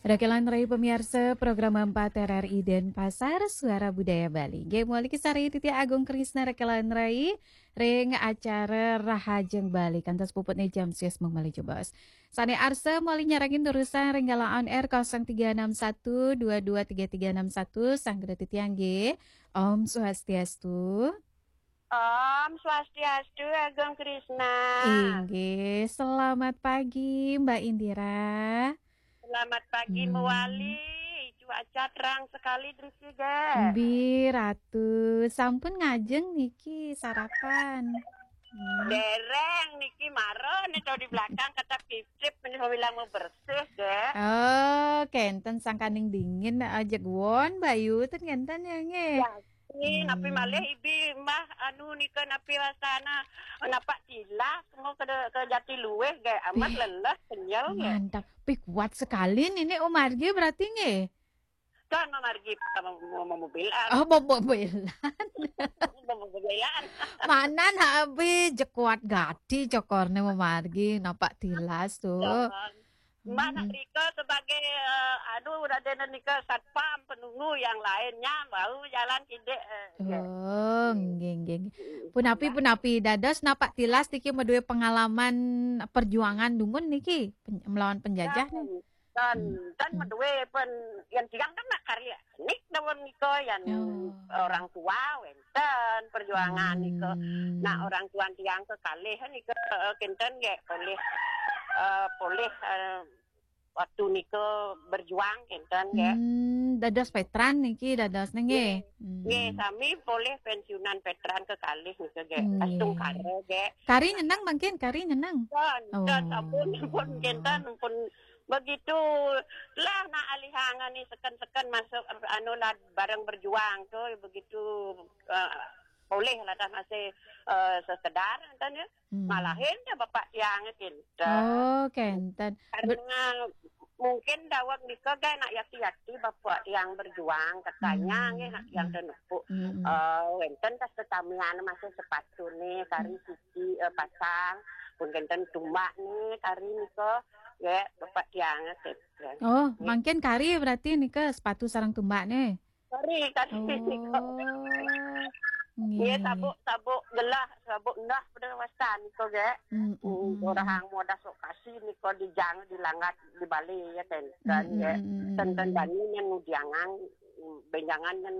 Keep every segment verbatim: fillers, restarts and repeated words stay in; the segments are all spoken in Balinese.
Rekelan Rai pamiarsa program empat R R I Denpasar, Suara Budaya Bali. Nggih, mawali sareng titiang Agung Krisna Rekelan Rai ring acara Rahajeng Bali. Kantos puputne jam swidak malih jebos. Sane arsa mawali nyarengin durusang ring galah on air kosong tiga enam satu dua dua tiga tiga enam satu, sang geda titiang nggih. Om Swastiastu. Om Swastiastu, Agung Krisna. Inggih, selamat pagi, Mbak Indira. Selamat pagi, Hmm. Mawali. Cuaca terang sekali, Driki, ge. Mbi, Ratu. Sampun ngajeng niki sarapan? Hmm. Dereng niki mara nih, tahu di belakang kata kipsip, nih, bilang mau bersih, ge. Oh, kenten sangkaning dingin, eh, jeg won, Bayu, ten kenten ya, nggih? Ya, ini, napi Hmm. malih ibi, Mbah, anu, nika, napi wasana, napak tilas, mau ke, ke Jatiluwih, ge. Amat Wih, lelah, kenyal, ge. Mantap. Wih, kuat sekali nih, nih, Om Margi berarti, nggih? Kan Om Margi, mau, mau, mau mobilan. Oh, mau mobilan. Mau mobilan. Manan, ha, wih, jeg kuat gati cokorne Om Margi, napak tilas tuh. Jangan. Mbak, nak Hmm. rika sebagai, eh, aduh, udah ada nika satpam, penunggu yang lainnya, baru jalan kidik, eh, ya. Oh, Hmm. nggih, nggih, nggih. Hmm. Punapi, Mbak. Punapi, dados napak tilas niki madue pengalaman perjuangan dumun niki, pen-, melawan penjajah nih. Dan, dan, Hmm. dan Hmm. madue pen, yang tiang kan nak karya nik dawon nika, yang Oh. orang tua wenten perjuangan nika. Hmm. Nak orang tua tiang kekalih nika, eh, kenten ge, polih, eh, polih, eh, waktu nika berjuang kenten ge. Hmm, dados veteran niki, dados nggih. Nggih. Hmm. Nggih, sami polih pensiunan veteran kekalih nika ge. Nggih. Astungkara ge. Kari nyeneng mangkin, kari nyeneng? Pun, Oh. pun, pun kenten, pun begitu lah nak alihang ni seken-seken masuk, anu lah, bareng berjuang tu, begitu, eh, boleh lah dah masih, eh, sekedar kenten ya. Hmm. Malahin dia bapak tiang kenten. Oh, kenten. Ber- Karena mungkin daweg nika ge nak yati-yati bapak tiang berjuang, katanya Hmm. nggih nak tiang Hmm. tenepuk. Hmm. Eh, wenten tas tetamian masih sepatu ni, kari Hmm. siki, eh, pasang, pun kenten tumbak ni, kari nika, ya, bapak tiang kenten. Oh, Nggih. Mangkin kari berarti nika sepatu sareng tumbak ni? Kari, kari nika. Oh. Nggih, Nggih, nggih. Sabuk, sabuk gelah, sabuk endah pada wasan nika ge. Hmm, hmm, Hmm, hmm. Orang modal sok kasih nika dijang, dilanggat, dibali ya, kenten, Hmm, hmm, ya. Hmm, hmm, Kenten hmm. Bani yang ngudiangan, benjangan yang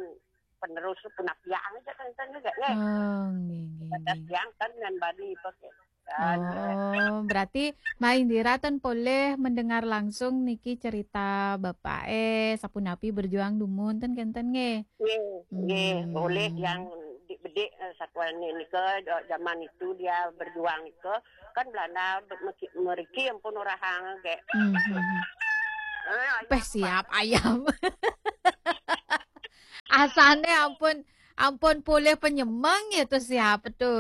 penerus punapiang aja kenten juga, ya. Oh, nggih, nggih, Batas nggih. Yang kan ngan Bani pakai. Dan, ya. Oh, berarti Mbak Indira ten polih mendengar langsung niki cerita bapak eh, sapunapi berjuang dumun ten kenten nggih? Nggih, nggih, Hmm. Oleh yang di-, bedik, eh, satuan ni nika, ja-, zaman itu dia berjuang nika, kan Belanda be-, meki-, meriki ampun orang hang ge. Hmm, hmm, hmm. Eh, ayam Peh, siap apa? Ayam. Asane ampun, ampun polih penyemeng ya tu siap tu.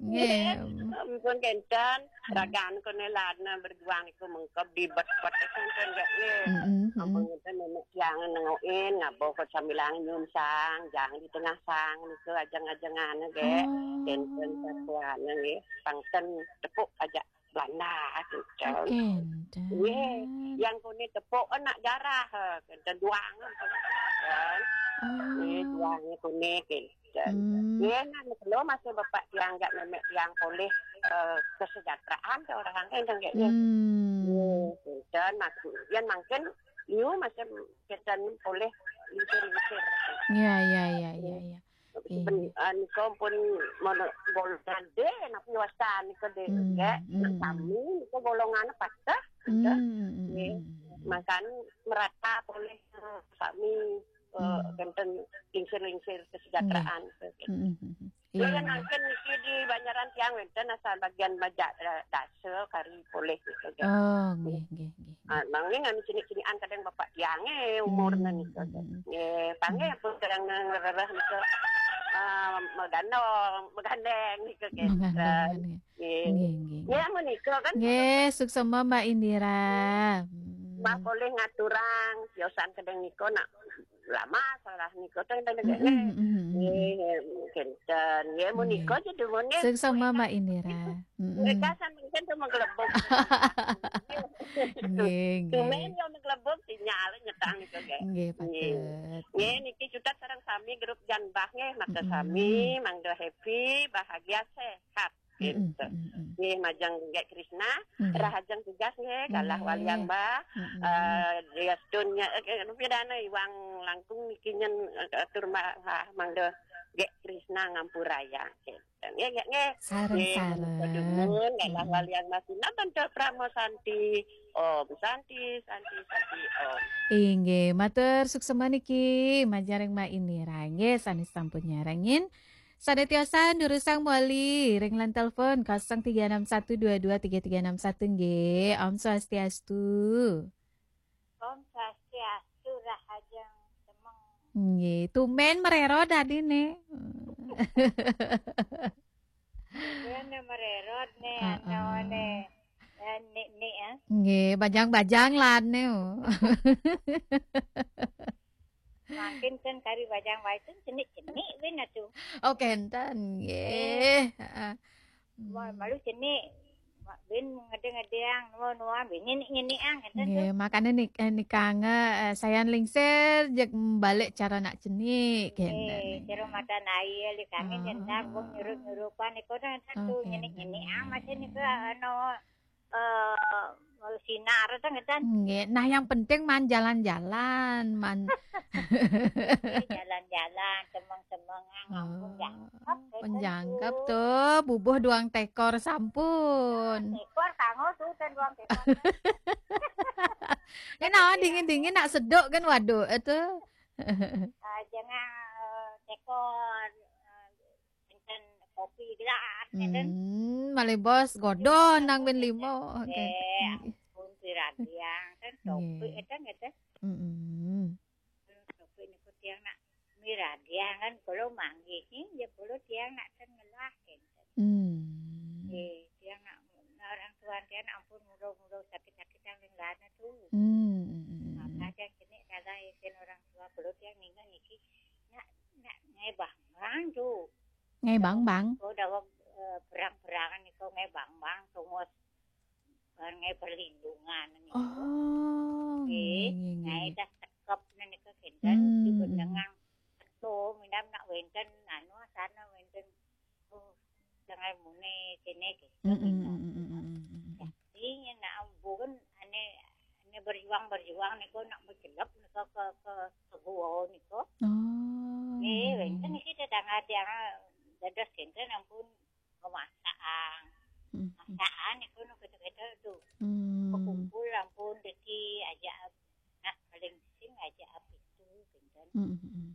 Nggih. Nggih. Ampun kenten, Hmm. ragan kene ladna berjuang iku mengkeb di bet-bet kenten ge. Nggih. Hmm, hmm, hmm. Ampun kenten nenek tiang nengokin, ngabo ke sambilang nyum sang, jang di tengah sang, niku ajeng-ajengan ge. Oh. Kenten satuan nggih, pangten tepuk aja Belanda kenten. Kenten. Nggih, yang kuni tepuk nak jarah, eh, kenten duang, kenten. Oh. Nggih, duang kuni kenten. Hmm. Nggih, nah, niku masih bapak tiang gak nenek tiang polih, eh, kesejahteraan ke orang kenten ge. Hmm. Nggih, kenten, mak-, yang mangkin, you masih kenten polih lingsir-lingsir. Ya, ya, ya, ya, ya. Nggih. Ben-, ah, nika pun mono golongan de, napi wasan nika de, Hmm, ya. Hmm, hmm. Sami nika golongan patah, Hmm, gitu. Hmm, hmm, Nggih. Hmm, hmm. Makan merata polih, eh, sami, eh, Hmm. kenten lingsir-lingsir kesejahteraan, Nggih. Gitu. Hmm, hmm, hmm. Iya, Iya, iya. Mangkin niki di Banjaran tiang wenten asal bagian majak, eh, dasa kari polih gitu, gitu. Oh, nggih, nggih, nggih, nggih. Ah, mangkin anu cinik-cinikan kadang bapak tiang, eh, umurna Hmm, nika, hmm, gitu. Hmm. Nggih, panggih Hmm. pun kadang ngerereh nika, eh, megandong, megandeng nika, gitu. Megandeng, nggih. Nggih. Nggih, nggih, Nggih, nggih. Menika kan. Nggih, suksema Mbak Indira. Hmm. Mbak polih ngaturang, tiosan kadang nika nak lama salah nika teng teng Mm, mm, mm, mm. Nggih, kenten. Nggih, menika Nggih. Aja dumun nggih. Suksema Mbak Indira. Mm, mm. Mereka sampeyan tu menggelebok. Nggih, nggih. Tumen yo menggelebok, sinya Ala nyetang niku nggih. Nggih, patut. Nggih, niki cutet sareng sami grup Janbah nggih, maka sami mangda happy, bahagia, sehat. Gitu. Nggih, majeng Gék Krisna, rahajeng tugas nggih, galah waliang Mbah. Eh, Diastun nya, eh, rupiah dana iwang langkung niki nyen, eh, atur Mbah, ah, mangda Gék Krisna ngampurayang. Gitu. Nggih, nggih, nggih. Sareng-sareng. Nggih, padumun, galah waliang Mbah Sina bantul Pramo Santi. Om Santi, Santi, Santi, Om. Inggih, matur suksema niki majeng ring Mbak Indira. Nggih, sanes sampun nyarengin. Sané tiosan durusang moli ring line telepon kosong tiga enam satu dua dua tiga tiga enam satu nggih. Om Swastiastu. Om Swastiastu, rahajeng semeng. Nggih, tumben merero dadine. Tumben merero ne, anu ne. Ya, nik nik ya. Nggih, bajang-bajang lan ne. Makin kan kari bajang waisun cenik-cenik win atuh. Oh, kenten nggih. Heeh. Wah, malu cenik. Win ngede-ngedeang, nuan-nuan, win nyenik-nyenik ang, kenten tuh. Nggih, makane nik eh, nikang eh, sayan lingsir jeg balik cara nak cenik Eh, kenten. Kira mata air, li kami Ah. Jentak, wong nyurup-nyurupan, iko kan tuh Oke. nyenik-nyenik ang, masih nih ke, anu, eh, sinar itu ngeten. Nggih, nah yang penting man jalan-jalan, man Jalan-jalan, semeng-semeng, ang, ampun, Oh, jangkep, kenten penjangkep tuh. Tuh, bubuh duang tekor sampun. Tekor, kanggo tuh, dan duang tekor. Ya nah, dingin-dingin nak seduk kan, waduh itu. Ah, jangan, eh, tekor, eh, enten kopi gelas, enten. Hmm, malih bos godon nang win limo. Oke. Eh, ampun, piradiang, kan kopi, Nggih. enten, enten. Mm-mm. Kopi niku tiang nak miradiang, kan, kalau manggih, ya, kalau tiang nak ten ngelah, enten. Hmm. Eh, tiang nak, nak orang tua tiang nak ampun mudah-mudah sakit-sakit yang ring lana tuh. Hmm. Maka tiang kene kalau isin orang tua kalau tiang ninggal niki nak nak ngebang-bang tuh. Ngebang-bang. Kau dawang eh, perang-perangan niku ngebang-bang tungos eh, nge perlindungan niku. Oh, Nggih, nggih, nggih, nah nggih. Dah cekep nih niku kinten Hmm. dibenengang. Tuh, minam nak wenten anu sana wenten. Oh, jangan mune kene gitu. Mm, mm, mm, mm, mm, mm, mm. Iya, nak ampun, ane ane berjuang-berjuang niku nak berjelep niku ke ke ke gua niku. Oh. Eh, Iya, wenten iya. Niki tetangga tiang dados kinten ampun ngemasak. Mm, mm. Masakan niku nu kita-kita tuh. Hmm. Kumpul ampun deki aja nak paling sing aja api itu kinten. Mm, mm, mm.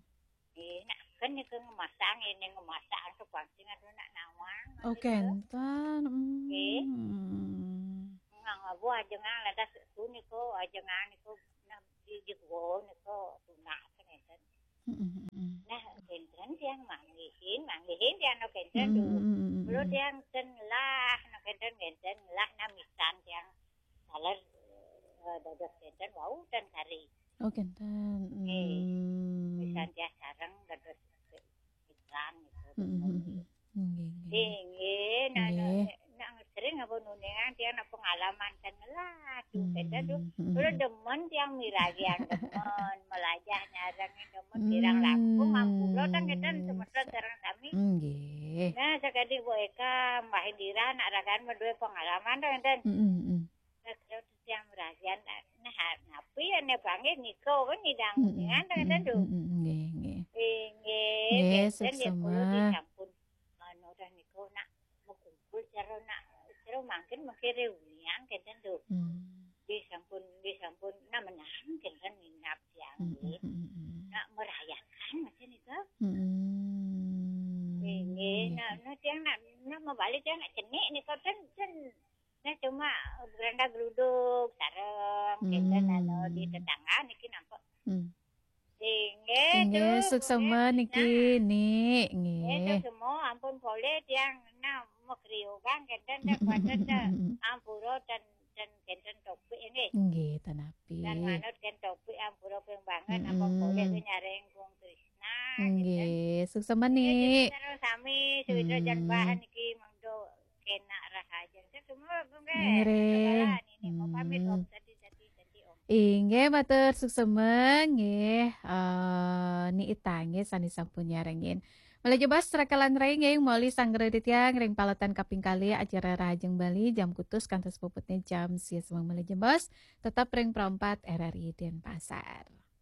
Eh, nak kan niku ngemasak ini ngemasak tuh pancing aduh nak nawang. Oh, kenten. Nggih. Hmm. Ngang abu ajengang ladas tu niku ajengang niku nak di di gua niku tunak kan enten. Mm, mm, mm, mm. Nah, enten tiang manggihin, manggihin tiang no kenten Mm, tu. mm, mm, mm, Kalau mm. tiang ten lah, no kenten kenten lah namisan tiang saler eh, dados kenten wau ten kari. Oh, kenten. Eh, Hmm. Misan tiang sareng dados iklan gitu. Mm, mm, mm, mm. Nggih, nggih. Inggih, nah, Nggih. nah, nah, sering apa nuningan tiang nak pengalaman ten lah tu kenten tu. Hmm, hmm. Kalau demen tiang miragian demen, melajah nyarang demen Hmm. kirang langkung ampura ten kenten semeton sareng sami. Nggih. Nah, sakadi Bu Eka, Mbah Indira, nak rakan menduwe pengalaman ten kenten. Mm, mm, mm. Nah, kalau tiang miragian nah napi ya ne panggil niko kan nidang Mm, mm, dengan ten mm, kenten tu. mm, mm, nggih, nggih. Inggih, Nggih, kenten ya suksema. kula disampun anu dah niku nak mekumpul cara nak cara mangkin mangkin reunian kenten tu. Hmm. Disampun disampun nak menang kenten minap tiang Mm, mm, nggih. mm, mm, mm. Nak merayakan macam niku. Mm-mm. Inggih, nah, nah tiang nak nak mabalik tiang nak cenik niku ten ten nah cuma beranda geruduk sareng kenten anu di tetangga niki nampak. Hmm. Inggih, Inggih, tu, suksema kemudian niki, kita, Nik, inggih, tu nggih. semua ampun poleh tiang nah mau kriukan kenten dah kuasa dah ampura dan dan kenten topik ini. Nggih, ten napi. Dan manut kan topik ampura ping banget apa poleh tu nyareng Kong Krisna. Gitu. Nggih, suksema, Inggih, Nik. sareng sami sawitra jan bahan iki mangdo kena rahaja. Semua nggih. Nggih. Ini mau pamit Om, sati sati sati Om. Inggih, matur suksma nggih, eh, Ni Ita nggih sané sampun nyarengin. Malih jebos rakalan ring nggih, moli Sanggra Ditya ring paletan kaping kalih acara Rahajeng Bali jam kutus kantos puputnya jam sia semeng. Malih jebos tetep ring Pro empat R R I Denpasar.